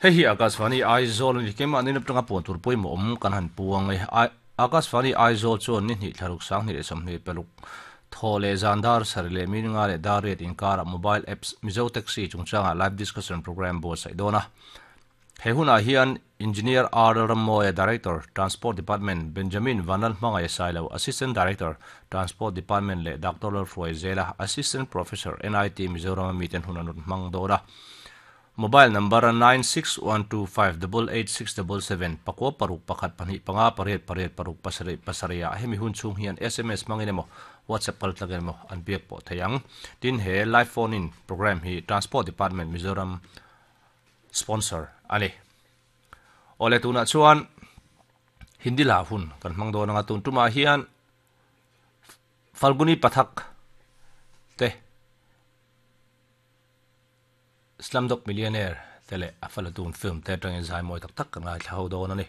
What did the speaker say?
Hei hi Akashvani Aizawl a ni. Keimahni lam atanga puan tur pawimawh awm kan han puang e. Akashvani Aizawl chuan ni hnih thlaruk 20 leh 20 paruk thaw leh zan dar sarih leh mi nga leh dar riat inkarah mobile apps Mizo Taxi chungchangah live discussion programme buatsaih dawn a. He hunah hian Engineer R Lalrammawia, Director, Transport Department, Benjamin Vanlalhmangaih Sailo, Assistant Director, Transport Department leh Doctor Lalhruaizela, Assistant Professor, NIT Mizoram a miten hun an rawn hmang dawn a. Mobile number 9612588677, pakua paruk pakhat pahnih panga pariat pariat paruk pasarih pasarih ah hemi hun chhung hian sms hmangin emaw WhatsApp kal tlakin emaw an biak pawh thei ang. Tin, he live phone in programme hi Transport Department Mizoram sponsor a ni. Awle tunah chuan Hindi hla hun kan hmang dawn anga tun tumah hian Falguni Pathak te Slumdog Millionaire te leh a falatun film te atangin zai mawi tak tak kan ngaithla ho dawn a ni.